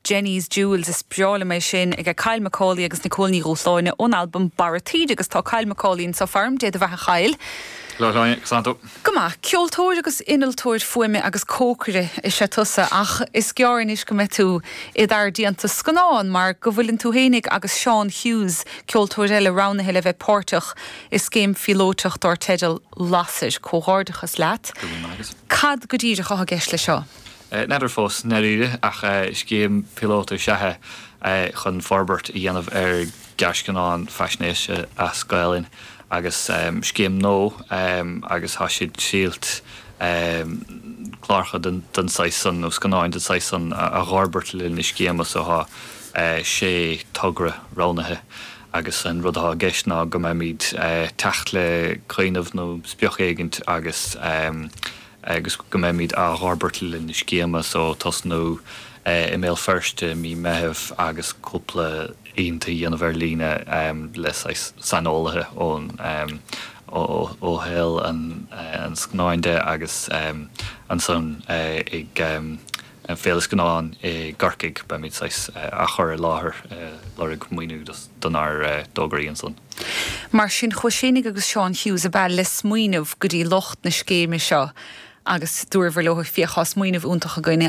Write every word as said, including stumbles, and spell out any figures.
Jenny's Jewels is breá liom é sin ag Kyle Macaulay agus Nicole Ní Dhúshláine ón albam Barra Taoide agus tá Kyle Macaulay anseo farm Dé do bheatha a Chyle. Santo. Go maith ceoltóir agus innealtóir fuaime agus cócaire is ea tusa ach is gearr anois go mbeidh tú i d'fhear déanta scannán mar go bhfuileann tú fhéinig agus Seán Hughes ceoltóir eile roghnaithe le bheith páirteach i scéim phíolótach dar teideal Lasair comhghairdeachas leat. Cad go díreach atá i gceist le seo? N'fheadar fós dáiríre ach scéim píolótach is ea é chun forbairt a dhéanamh ar ghearrscannán faisnéise as Gaelainn. agus um, scéim nua um, agus tá siad sílt um, cláracha den, den saghas san nó scannáin den saghas san a, a fhorbairt le na scéime so tá uh, sé togra roghnaithe agus an rud atá i gceist ná go mbeimid uh, teacht le cuimhneamh nó sprioc éigin agus um, agus go mbeimid á fhorbairt le na scéime so tosnú uh, i mBéal Feirste mí Mheithimh agus cúpla ionta dhéanamh ar líne um, le saineolaithe ón um, ó shaol an, an scannáin de agus um, ansan uh, ag um, an Féile Scannán i gCorcaigh beimid uh, á chur i láthair uh, lorg maoiniú donár uh, dtograí ansan. Mar sin chuaigh sibh agus Seán Hughes a bheith le smaoineamh go dtí lucht na scéime seo agus dúradh leo féach tá smaoineamh iontach againne